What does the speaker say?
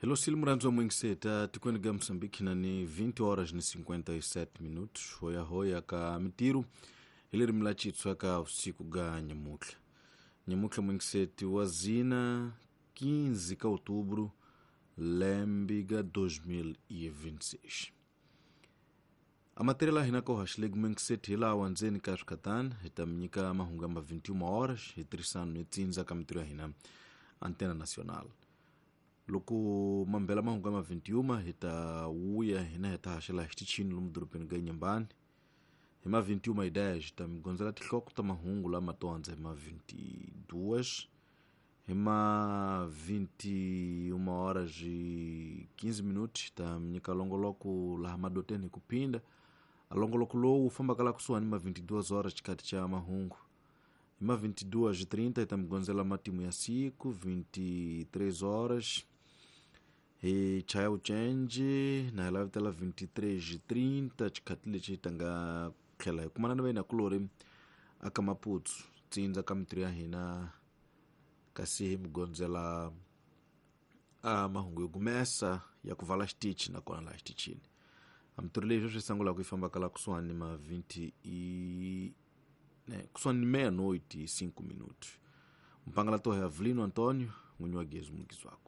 Hello, Silmuranzo Mwingseta, tikweni ga Moçambique na ni 20 horas ni 57 minutos. Hoya hoya ka mitiru ilirimi la chitswa ka usiku ga nyamutlha. Nyamutlha Mwingseti wa zina 15 ka outubro lembe ga 2026. A matéria la hina ka haxilegi Mwingseti hilawa ndzeni ka swikatani hi ta mi nyika mahungu ya ma 21 horas hi tirhisano ni tsindza ka mitirho ya hina Antena Nacional. Loko mambela mahungu ya ma 21 hi ta wuya hina hi ta haxela hi xitichini lomu dorobeni ga Inhambane. Hi ma 21 hi 10 hi ta mi gondzela tinhloko ta mahungu lama to andza hi ma 22 hi ma 21 horas e 15 minutos hi ta mi nyika longoloko laha madoteni hi ku phinda. A longoloko lowu wu fambaka la kusuhani ma 22 horas xikati xa mahungu. Hi ma 22:30 hi ta mi gondzela matimu ya siku 23 horas hi chaya uchenji na hi lavitela 23:30 xikati lexi hi ta nga tlhela hi kumana na vayinakulori aka Maputsu tsindza ka mitirho ya hina kasi hi mi gondzela a mahungu yo gumesa ya ku vala xitichi nakona laha xitichini. A mitirho leyi sweswi sungulaka yi fambaka la kusuhani ma 20 i ne, kusuhani ni meia-noite e 5 minutos. Mpangala tohe Avelino Antonio, n'winyi wa gezi mugizwako.